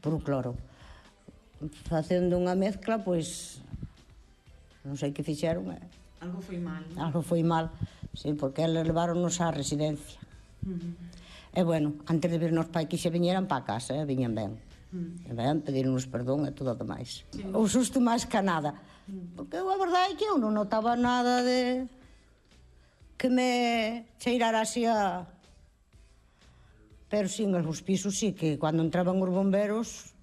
por cloro. Facendo unha mezcla, pois non sei que fixeron. Algo foi mal, non? Algo foi mal, sí, porque eles leváronnos á residencia. E bueno, antes de virnos pa aquí se viñeran pa casa, viñan ben. E ben, pedironnos perdón e todo o demais. O susto máis que nada. Porque a verdade é que eu non notaba nada de que me cheirara así a... Pero sí, nos pisos sí, que cando entraban os bomberos,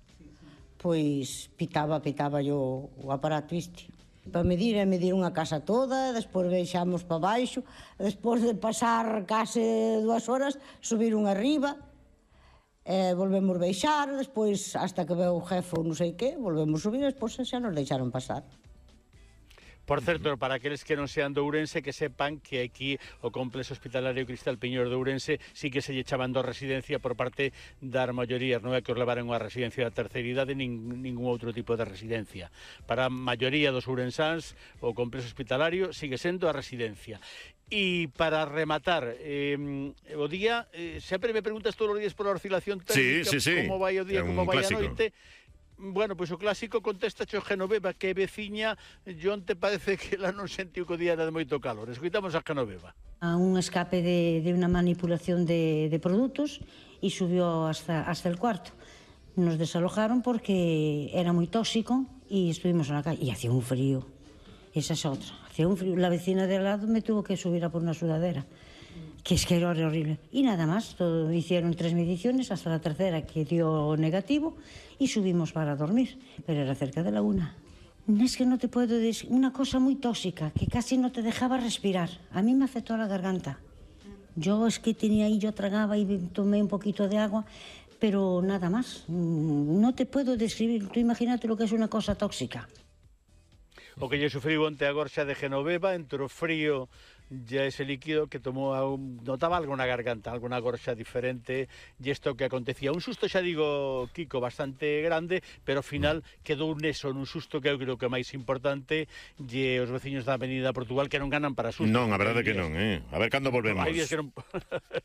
pois pitaba yo o aparato este. Para medir unha casa toda, despois baixamos para baixo, despois de pasar case 2 horas, subiron arriba, volvemos baixar, despois, hasta que veu o jefe ou non sei que, volvemos subir, despois xa nos deixaron pasar. Por certo, para aqueles que non sean de Ourense, que sepan que aquí o complexo hospitalario Cristal Piñor de Ourense sí que se lle chaban do residencia por parte das maiorías, non é que os levaran a residencia da terceira idade ningún outro tipo de residencia. Para a maioría dos ourensáns, o complexo hospitalario sigue sendo a residencia. E para rematar o día, sempre me preguntas todos os días pola oscilación térmica, como vai o día, como vai a noite. Bueno, pois o clásico contesta o Genoveva, que é veciña, e onte parece que ela non sentiu que o día era de moito calor. Escoitamos a Genoveva. A un escape de unha manipulación de produtos e subió hasta el cuarto. Nos desalojaron porque era moi tóxico e estuvimos na calle. E hacía un frío. Esa es outra. Hacía un frío. La vecina de al lado me tuvo que subir a por una sudadera. Que es que era horrible. Y nada más, hicieron 3 mediciones hasta la tercera que dio negativo y subimos para dormir, pero era cerca de la 1. Es que no te puedo decir, una cosa muy tóxica, que casi no te dejaba respirar. A mí me afectó la garganta. Yo es que tenía ahí, yo tragaba y tomé un poquito de agua, pero nada más. No te puedo describir, tú imagínate lo que es una cosa tóxica. O que lle sufriu onte a gorxa de Genoveva, entre o frío ya ese líquido que tomou, notaba algo na garganta, alguna gorxa diferente, e isto que acontecía. Un susto, xa digo, Kiko, bastante grande, pero ao final quedou neso, nun susto que eu creo que é máis importante, e os veciños da Avenida Portugal que non ganan para susto. Non, a verdade que non, A ver cando volvemos. Hai días que non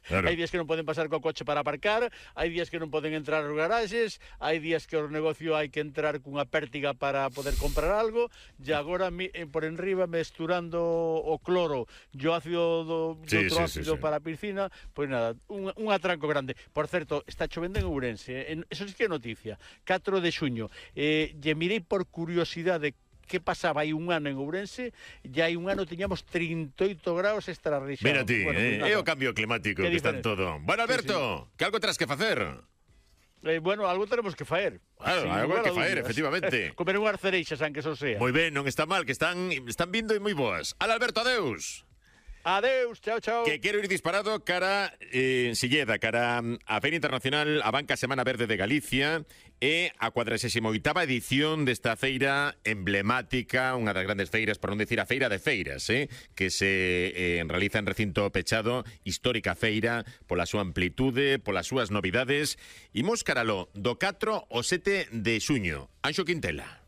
claro. Hai días que non poden pasar co coche para aparcar, hai días que non poden entrar aos garaxes, hai días que os negocios hai que entrar cunha pértiga para poder comprar algo, e agora por enriba mesturando o cloro e o ácido do outro ácido para a piscina, pois nada, un atranco grande. Por certo, está chovendo en Ourense, eso sí que é noticia, 4 de xuño, e mirei por curiosidade que pasaba hai un ano en Ourense, e hai un ano tiñamos 38 graus extrarrexados. Mira ti, é o cambio climático que está en todo. Bueno, Alberto, que algo terás que facer? Bueno, algo tenemos que faer. Claro, algo hai que faer, efectivamente. Comer unhas cereixas, aunque eso sea. Moi ben, non está mal, que están vindo e moi boas. Ala, Alberto, adeus. Adeus, chao, chao. Que quero ir disparado cara Silleda, cara a Feira Internacional, a Banca Semana Verde de Galicia e a 48ª edición desta feira emblemática, unha das grandes feiras, por non decir a feira de feiras, que se realiza en recinto pechado, histórica feira, pola súa amplitude, polas súas novidades. Imos caralo do 4 ao 7 de xuño. Anxo Quintela.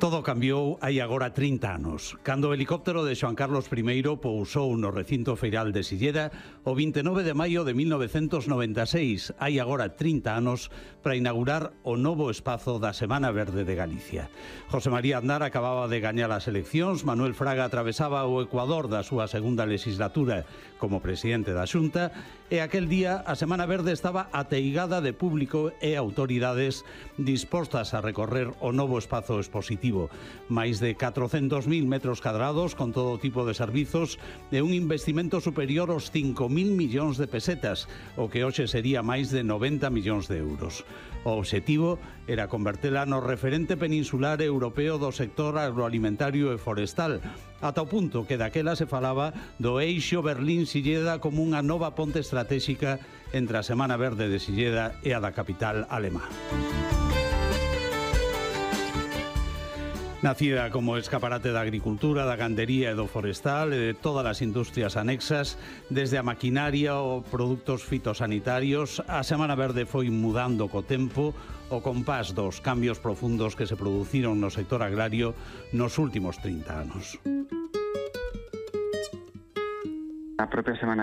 Todo cambiou hai agora 30 anos, cando o helicóptero de Xoan Carlos I pousou no recinto feiral de Silleda o 29 de maio de 1996, hai agora 30 anos, para inaugurar o novo espazo da Semana Verde de Galicia. José María Aznar acababa de gañar as eleccións, Manuel Fraga atravesaba o Ecuador da súa segunda legislatura como presidente da Xunta, e aquel día a Semana Verde estaba ateigada de público e autoridades dispostas a recorrer o novo espazo expositivo. Máis de 400.000 metros cadrados con todo tipo de servizos e un investimento superior aos 5.000 millóns de pesetas, o que hoxe sería máis de 90 millóns de euros. O obxectivo era convertela no referente peninsular europeo do sector agroalimentario e forestal, ata o punto que daquela se falaba do eixo Berlín-Silleda como unha nova ponte estratégica entre a Semana Verde de Silleda e a da capital alemá. Nacida como escaparate da agricultura, da gandería e do forestal e de todas as industrias anexas, desde a maquinaria ou produtos fitosanitarios, a Semana Verde foi mudando co tempo o compás dos cambios profundos que se produciron no sector agrario nos últimos 30 anos. A propia Semana